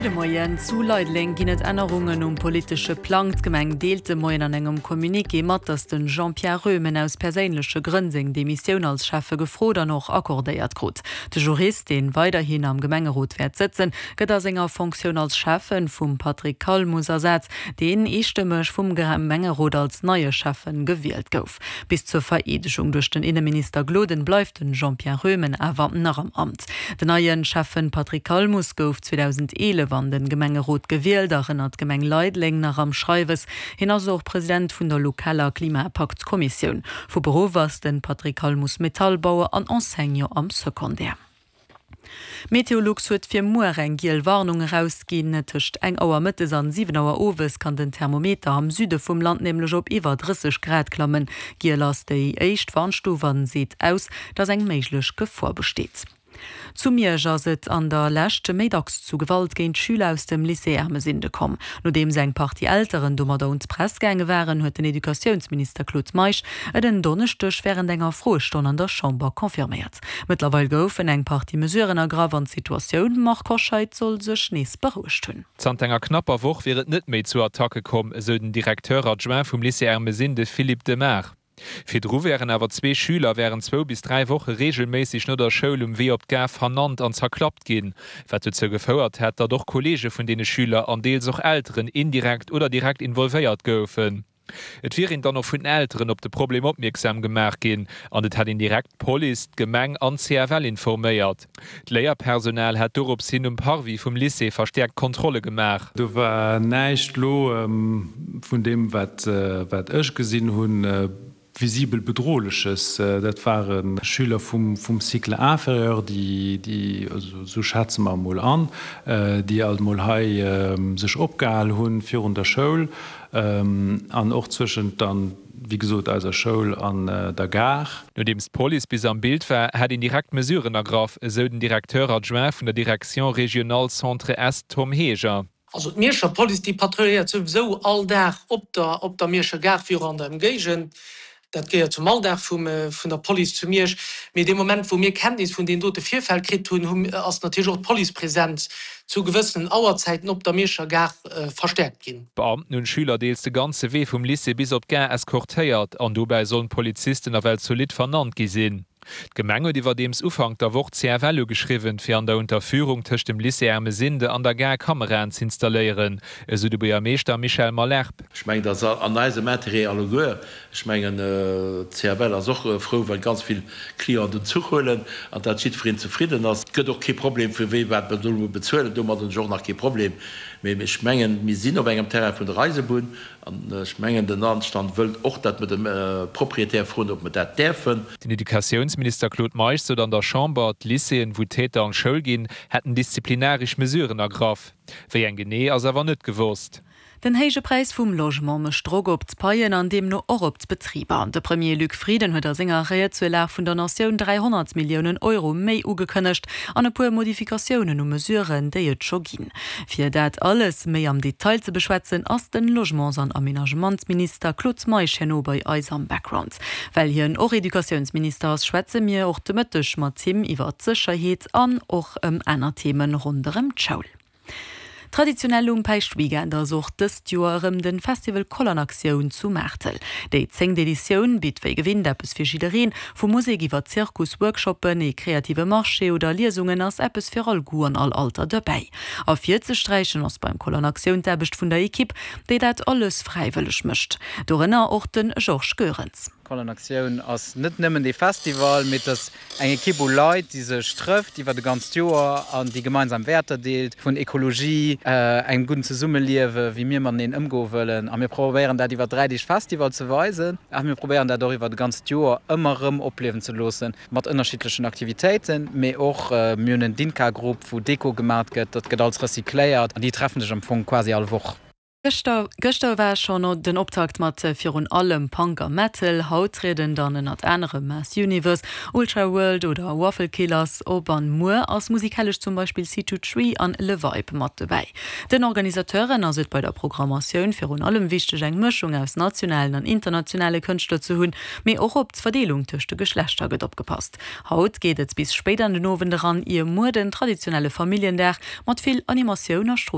De Moien, Zu Leideleng ginn et Ännerungen um politesche Plang. D'Gemeng deelt de Moien an engem Communiqué mat, datt de Jean-Pierre Roemen aus perséinleche Grënn seng Demissioun als Schäffe gefrot an och accordéiert krut. De Jurist, dee weiderhin am Gemengerot wäert sëtzen, gëtt a senger Fonctioun als Schäffen vum Patrick Calmus ersat, deen eestëmmeg vum Gemengerot als neie Schäffen gewielt gouf. Bis zur Vereedegung duerch den Inneminister Gloden bleift den Jean-Pierre Roemen awer nach am Amt. Den neien Schäffen Patrick Calmus gouf 2011 an den Gemengerot gewielt, erënnert d'Gemeng Leideleng nach am Schreiwes. Hien ass och President vun der lokaler Klimapakt-Kommissioun. Vu Beruff ass den Patrick Calmus Metallbauer an Enseignant am Secondaire. Meteolux huet fir muer eng giel Warnung erausginn. Tëscht eng Auer mëttes an 7 Auer owes kann den Thermometer am Süde vum Land nämlech op iwwer 30 Grad klammen. Giel ass déi éischt Warnstuf an seet aus, dass eng méiglech Gefor besteet. Zu Miersch ass et an der Lescht méi dacks zu Gewalt géint Schüler aus dem Lycée Ermesinde komm. Nodeems eng Partie Elteren domadder un d'Press gaange waren, huet den Educatiounsminister Claude Meisch et en Donneschdeg wärend enger Froestonn an der Chamber confirméiert. Mëttlerweil goufen eng Partie Mesuren ergraff an d'Situatioun, Marc Hoscheid, soll sech nees berouegt hunn. Zanter enger knapper Woch wier et net méi zu Attacke komm, esou den Directeur adjoint vum Lycée Ermesinde Philippe Demart. Virdru wären awer zwee Schüler wärend zwou bis dräi Woche reegelméisseg no der Schoul um Wee op d'Gare vernannt an zerklappt ginn, wat dozou gefouert hätt, datt och Kolleege vun deene Schüler an deels och Elteren indirekt oder direkt involvéiert goufen. Et wier een dann och vun den Elteren op de Problem opmierksam gemaach ginn an et hätt een direkt d'Police, d'Gemeng an d'CFL informéiert. D'Léierpersonal hätt dorops hin um Parvis vum Lycée verstäerkt Kontrolle gemaach. Do war näischt lo vun deem, wat ech gesinn hunn, visibel Bedrohleches. Dat ware Schüler vum Cycle inférieur, déi, esou schätze mer emol an, déi alt emol hei sech opgehal hunn virun der Schoul an och zwëschent dann, wéi gesot, eiser Schoul an der Gare. Nodeems d'Police bis am Bild war, hätt een direkt Mesuren ergraff, esou den Directeur adjoint vun der Direction régionale Centre-Est Tom Heger. Also d'Mierscher Police, déi patrouilléiert souwisou all Dag op der op der Mierscher Gare, wéi och an der Emgéigend. Dat gehéiert zum Alldag vum vun der Police zu Miersch. Mee dee Moment, wou mir Kenntnis vun deenen dote Virfäll kritt hunn, hu ass natierlech och d'Policepresenz zu gewëssenen Auerzäiten op der Mierscher Gare verstäerkt ginn. D'Beamten hunn d'Schüler deels de ganze Wee vum Lycée bis op d'Gare eskortéiert an dobäi sollen d'Polizisten nawell zolidd vernannt gi sinn. D'Gemeng huet iwwerdeems Ufank der Woch d'CFL ugeschriwwen, fir an der Unterführung tëscht dem Lycée Ermesinde an der Gare Kameraen z'installéieren, esou de Buergermeeschter Michel Malherbe. Ech mengen, dat ass an eisem Interêt alleguer. Ech mengen, d'CFL ass och frou, well ganz vill Clienten den Zuch huelen an dat jiddwereen zefridden ass. Et gëtt och kee Problem, fir wee wat mer do elo bezuelen. Domat hunn ech och nach kee Problem. Mee ech mengen, mir sinn op engem Terrain vun der Eisebunn an ech mengen, den Anstand wëllt och, datt mer de Propriétaire froen, ob mer dat däerfen. Den Educatiounsminister Claude Meisch sot an der Chamber, d'Lycéeën, wou d'Täter an d'Schoul ginn, hätten disziplinaresch Mesuren ergraff. Wéi eng genee, ass awer net gewosst. Den héije Präis vum Logement mécht Drock op d'Paien an deemno och op d'Betriber. De Premier Luc Frieden huet a senger Ried zur Lag vun der Natioun 300 Milliounen Euro méi ugekënnegt an e puer Modifikatiounen u Mesuren, déi et scho ginn. Fir dat alles méi am Detail ze beschwätzen, ass den Logements an Aménagementsminister Claude Meisch herno bei eis am Background. Well hien och Educatiounsminister ass, schwätze mir och de Mëtteg mat him iwwer d'Sécherheet an och ëm aner Themen ronderëm d'Schoul. Traditionell um Päischtweekend ass och dëst Joer erëm den Festival Koll an Aktioun zu Maartel. Déi zéngt Editioun bitt wéi gewinnt eppes fir jiddereen, vu Musek iwwer Zirkus, Workshoppen, ee kreative Marché oder Liesungen ass eppes fir all Goût an all Alter derbäi. Ervirzesträichen ass beim Koll an Aktioun d'Aarbecht vun der Ekipp, déi dat alles fräiwëlleg mécht. Dorënner och de Georges Goerens. Koll an Aktioun ass net nëmmen dee Festival, mee et ass eng Ekipp u Leit, déi sech trëfft iwwer e ganzt Joer an déi gemeinsam Wäerter deelt, vun Ekologie, engem gudden Zesummeliewe, wéi mir mateneen ëmgoe wëllen. A mir probéieren dat iwwer 3 Deeg Festival ze weisen, a mir probéieren dat och iwwer e ganzt Joer ëmmer erëm opliewen ze loossen, mat ënnerschiddlechen Aktivitéiten, mee och mir hunn en Dinka-Grupp, wou Deko gemaacht gëtt, dat gëtt alles recycléiert an déi treffen sech am Fong quasi all Woch. Gëschter gëschter war schonn den Optakt mat virun allem Punk a Metal. Haut trieden dann ënnert anerem Mass Universe, Ultraworld oder Waffle Killers op an muer ass musikalesch zum Beispill C2 Tree an Le Vibe mat dobäi. Den Organisateuren ass et bei der Programmatioun virun allem wichteg eng Mëschung aus nationalen an internationale Kënschtler ze hunn, mee och op d'Verdeelung tëscht de Geschlechter gëtt opgepasst. Haut geet et bis spéit an den Owend eran, ier muer den traditionelle Familljendag mat vill Animatioun a Strooss.